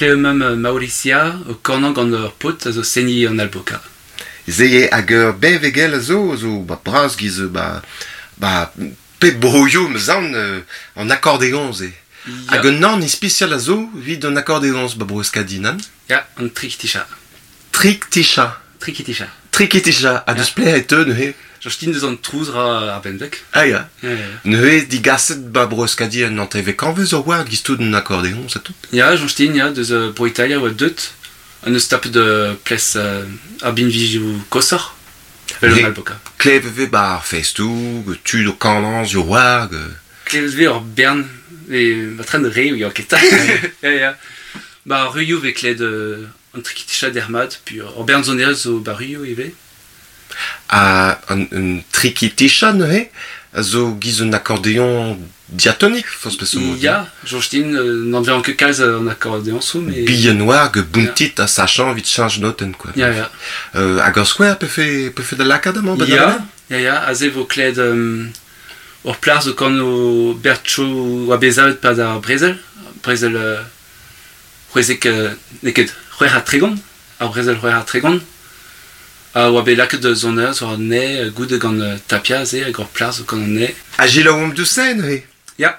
Klev Maurisia o kanañ gant ur paotr a zo seniñ an alboka. Se eo hag ur benvegel a zo, zo ba bras giz ba, ba pep broioù 'm eus aon an akordeoñs eo. Hag un anv ispisial a zo evit an akordeoñs ba Bro-Euskadi, nann? Ya, an trikiticha. Trikticha. Trikiticha. Trikiticha. Ha deus pelec'h e teu neuze? Justin deus an trouz ra ar benveg. Ah ya. Neuze digaset ba Bro-Euskadi un hantervekañvez ur war giz tout an akordeoñs ha tout? Ya, Justin, ya, deus Bro-Italia oa deut. An eus tapet ples ar binvioù koshoc'h. Vel an alboka. Klevet vez ba ar festoù, tud o kanañ sur war. Klevet vez ur bern, ma tren re ya ket. Ya, ya. Ba ar ruioù vez klevet an trikiticha dermat, puis ur bern sonerezh zo ba ruioù ivez. Ha an trikitisha neuze a zo giz un akordeoñ diatonik, forzh peseurt mod. Ya, soñj din, n'anvean ket kalz an akordeoñsoù, mais... Bihan oa hag bountit ha sachañ evit cheñch notenn, quoi. Ya, ya. Hag ur skouer pefe, pefe da lakaat amañ ba Ya, ya, ya, aze vo klevet ur plac'h zo kano Bertcho oa bet savet 'pad ar brezel, brezel c'hwezek, n'eo ket 36, ar brezel 36, a oa bet lakaet da sonerezh war an nae goude gant Tapia aze hag ur plac'h zo gant an nae. Ha selaouomp deus se neuze? Ya.